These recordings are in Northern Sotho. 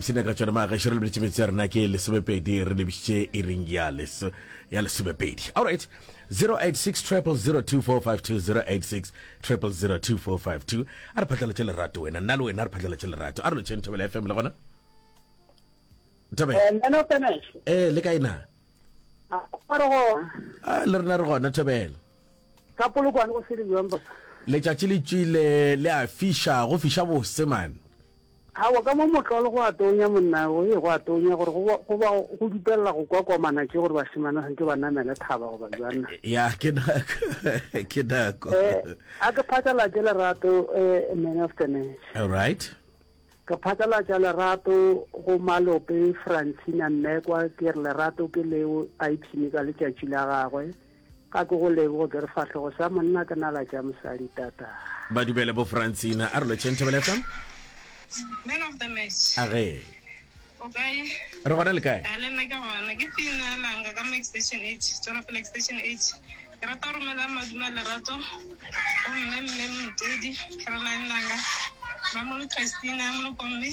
ipshina ka tšona magešo re lebeletše metse ya rena ke lesomepedi re lebišitše iring ya leso ya lesomepedi. All right. 086 0002452 086 0002452 a re phatlalatše lerato wena nna le wena re phatlalatše lerato a re lotšheng Thobela FM le gona Thobela Eh, man of the match. eh le kae na A re gona. Ah, le rena re gona Thobela Ka polokwane go sele jwang bosa? Letšatši le tšwile le a fiša, go fiša bose man. Aowa ka mo motlolo go a tonya monna, go ye go a tonya gore go go ba go dupelela go kwa komana tše gore bašemane ba santše ba namele thaba goba jwang na. Ya ke nako, ke nako. Eh, a ke phatlalatše lerato eh, man of the match. All right. Ke phatlalatša lerato go Malope Francina Mmekwa ke re lerato ke leo a ipshine ka letšatši la gagwe. Ga ke go leboge ke re fahlogo sa monna ke nala tša mosadi tata. Ba dumele bo Francina. A re lotšheng Thobela FM. Man of the match. A ge. O kae? Re gona le kae? A le nna ke gona. Ke Tina Langa ka mo Extension H, Tšwelopele Extension H. Ke rata go romela madume a lerato go mme mme Motodi, Caroline Langa, Mamolo Christina Molokomme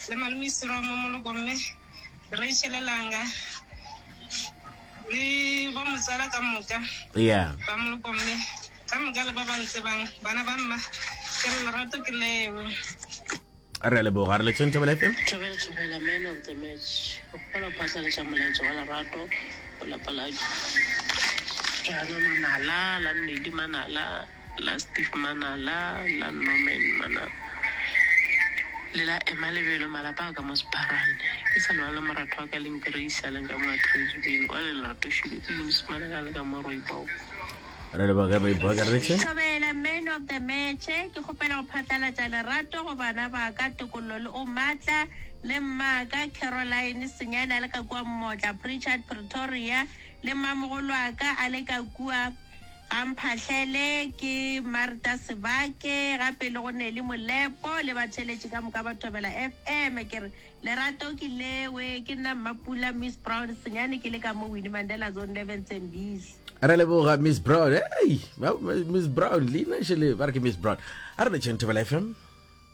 le malome Siromo Molokomme, Rachel Langa. Le bo motswala ka moka yeah. ba moloko mme ka moka le ba ba ntsebang bana ba mma ke re lerato ke leo. Re a leboga re letšeng Thobela FM. Thobela Thobela man of the match o kgopela go phatlalatša molaetša wa lerato go lapa la Jana Manala la Nnedi Manala la Steve Manala, la Norman Manala le la Emma Lebelo, malapa a ka mo Sepharane. Ke sa lebala le moratho wa ka leng Grace a leng ka mo Atteridgeville, wa le Lerato Shilo ke Eunice Manala a le ka mo Rooibok. Re leboge Rooibok, re tše. Thobela man of the match, ke kgopela go phatlalatša lerato go bana ba ka Tokollo le O Matla le mmaka Caroline Senyane a le ka kua Mmotla Pritchard Pretoria le mmamogolwaka a le ka kua Ga mphahlele ke Martha Sebake, gape le go Nelly Molepo le batheeletši ka moka ba Thobela FM. Ke re lerato ke lewe, ke nna Mmapula Miss Brown Senyane ke le ka mo Winnie Mandela Zone 11 Tembisa. Re leboga Miss Brown. Hey, Miss Brown, leina šele ba re ke Miss Brown. A re letšeng Thobela FM.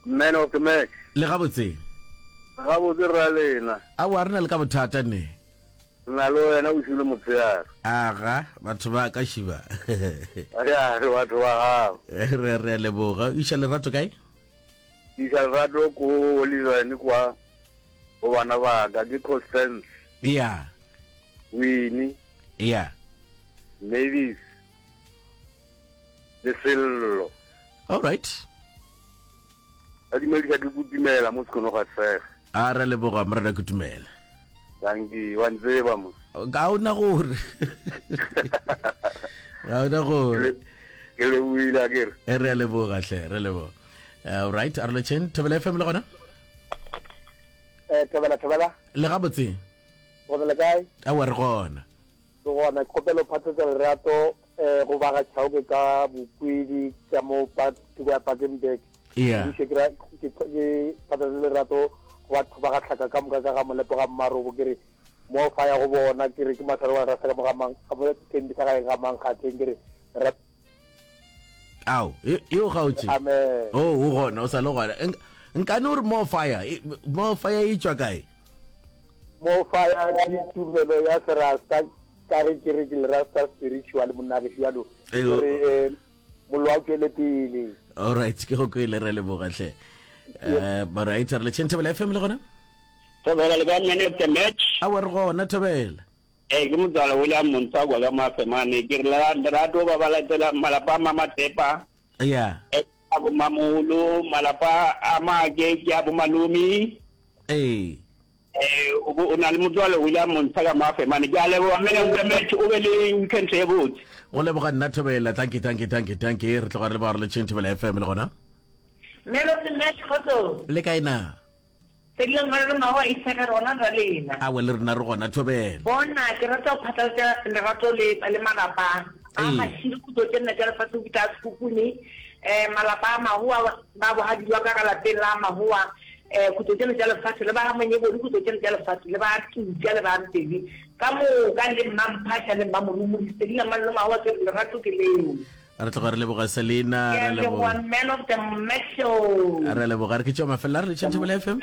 Man of the match. Le gabotse. Gabotse rra lena. Aowa re na le ka bothata ne. Re na le wena bošego le motshegare. Aga, batho ba ka šiba. Ya, re batho ba gago. Re re a leboga. O iša lerato kae? Ke iša lerato ko Oliverne kwa go bana ba ka ke Constance. Ya. Winnie. Ya. Mavis. Le Sello. All right. Ba dumedisa ke Kutumela mo Sekono ga Sege. A re leboga morena Kutumela. Dankie, wa ntseba mo. Ga o na gore. Ga o na gore. Ke lebohile a kere. E re a leboga hle, re leboga. All right, a re letšeng Thobela FM le gona? Eh, Thobela, Thobela. Le gabotse. Gona le kae? Aowa re gona. Ke gona ke kgopela go phatlatša lerato um go ba ga Chauke ka Bokwidi ka mo thoko ya Pakenburg. Yeah. Ke ke ke phatlatša lerato go batho ba ga Tlhaka ka moka ka ga Molepo ga Mmarobo ke re mo fa ya go bona ke re ke mahlare wa rasa ka mo ga mang ga mo Thembisa ga ga mang Kgatleng ke re Ao, e e o gaotše. Amen. Oh, o gona, o sa le gona. Nkane o re more fire, more fire e tšwa kae? More fire ke tumelo ya serasta ka ge ke re ke le rasta spiritual monna gešo bjalo. Gore eh, mollo a tšwele pele. All right, ke go kwele re leboga hle. Eh, all right, re le Thobela FM le gona? Thobela le ka man of the match. Awa re gona Thobela. Ee, ke motswala William Montswakwa ka Mafemane. Ke re lerato ba ba latela malapa a Mamatepa. Yeah. A bo Mamolo, malapa a Maake ke a bo Malome. Ee. Eh, o bo o na le motswala William Montsha ka Mafemane. Ke a leboga man of the match, o be le weekend e botse. Go leboga nna Thobela. Thank you, thank you, thank you, thank you. Re tloga re leboga re le tšheng Thobela FM le gona. Man of the match, kgotsong. Le kae na? Fedile ngwana le mago a isega rona ra lena. Awe le rena re gona thobela. Bona ke rata go phatlalatša lerato le le malapa a Mashilo khutlo tše nne tša lefatshe go fihla a Sekhukhune eh malapa a Mahoa ba bogadi jwa ka ka lapeng la Mahoa eh khutlo tše nne tša lefatshe le ba ga Monyebodi khutlo tše nne tša lefatshe le ba Tuka le ba Mpedi ka moka le Mmamphaša le Mmamorumodi Selina Mmallo Mahoa ke re lerato ke leo. Re tloga re leboga Selina. Ke a leboga man of the match show. Re leboga re ke tšwa mafelelo a re letšeng Thobela FM.